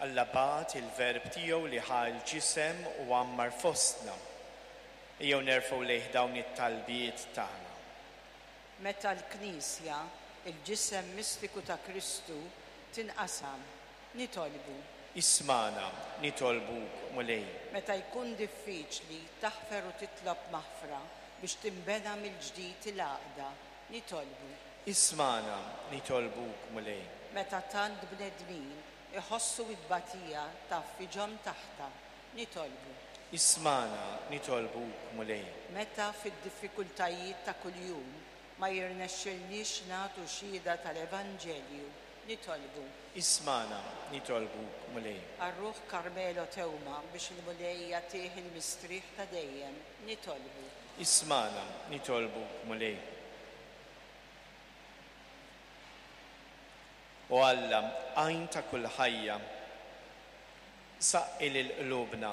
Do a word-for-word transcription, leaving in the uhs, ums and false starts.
Alla bagħat il-Verb tiegħu li ħa l-ġisem u għammar fostna. Ejjew nerfgħu lejh dawn it-talbiet tagħna. Meta l-Knisja, il-ġisem mistiku ta' Kristu, tinqasam, nitolbu. Ismagħna, nitolbuk, Mulej. Meta jkun diffiċli taħfer u titlob maħfra biex tinbena mill-ġdid il-għaqda, nitolbu. Ismagħna, nitolbuk, Mulej. Meta tant bnedmin iħossu t-tbatija tgħaffiġhom taħtha, nitolbu. Ismagħna, nitolbuk, Mulej. Meta fid-diffikultajiet ta' kuljum ma jirnexxilniex nagħtu xhieda tal-Evanġelju, nitolbu. Ismagħna, nitolbuk, Mulej. Għal ruħ Carmelo Teuma biex il-Mulej jagħtih il-mistrieħ ta' dejjem, nitolbu. Ismagħna, nitolbuk, Mulej. O Alla, għajn ta' kull ħajja, saqqi lil qlubna